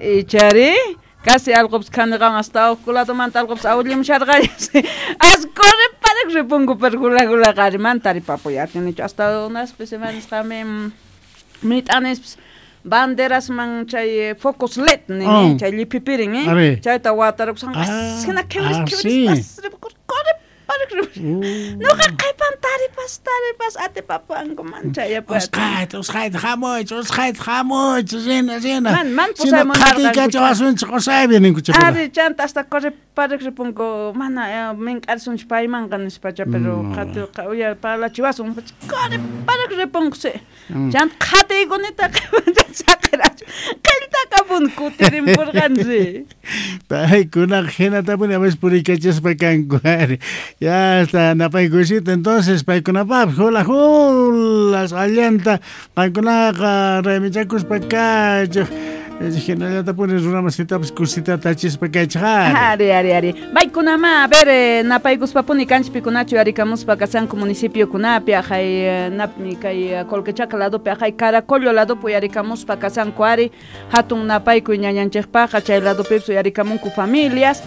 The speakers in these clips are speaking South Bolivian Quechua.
Ichari casi alqopis khaniqan hasta huk ladomanta alqopis awllimusharqayas. As corre parak ripunku pero hula hula qari man taripapuy atinichu hasta unas semanas qami mit'anispis banderasman chay focos LED nin Oh. chay lliphipirin Ari. chayta watarukusqan hina khiwris khiwris corre parak Noqa qhipan taripas taripas atipapuwanku man chayapuy Usqhayta, usqhayta hamuychik, usqhayta hamuychik, rina, rina. Man, man Sino pusamunarqanku. qhatiykachawasunchik, qusaypi ninkuchik. Ari chanta hasta corre parak ripunku mana mink'arisunchik paymanqa nispacha pero qhati uya parlachiwasun corre parak ripunku si. Chanta qhatiykunita saqirachu qilltakapun kutirimpurqansi. Paykunaqa hinatapuni a veces puriykachaspa kanku ari. Ya está napaykusita entonces paykunapaqpis hula hulas allanta qankunaqa raymichakuspa kachuk hinallatapuni runamasitapis kusitata achispa kaychik ari. Ari, ari, ari. Paykunama, a ver, napaykuspapuni kanchpikunachu yarikamuspa kasanku municipiokunapi, ajay napmi kay Colquechaca ladopi, ajay Caracollo ladopi yarikamuspa kasanku ari, hatun napaykuy ñañanchikpaqa chay ladopipis uyarikamunku familias,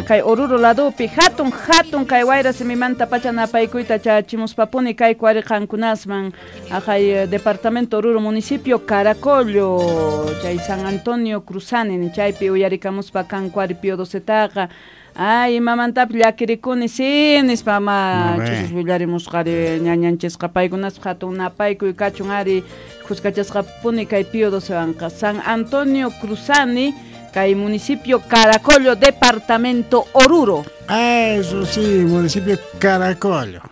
kay Oruro ladopi, hatun, hatun kay wayra simimanta pacha napaykuyta chachimuspapuni kayku ari qankunasman, ajay departamento Oruro municipio Caracollo, chay San Antonio Cruzani, chaypi uyarikamuspa kanku ari Pío Docetaqa. Ay, imamantapis llakirikuni, sí, nispa ma ch'usus willarimusqari ñañanchisqa paykunaspa hatun napaykuy kachun ari khuskachasqapuni kay Pío Docewanqa. San Antonio Cruzani, kay municipio Caracollo, departamento Oruro. Eso sí, municipio Caracollo.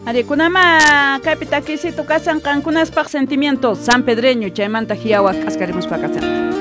Ari kunama kaypi takisito kasan qankunaspaq sentimiento San Pedreño chaymanta hiyawa k'askarimuspa kasan.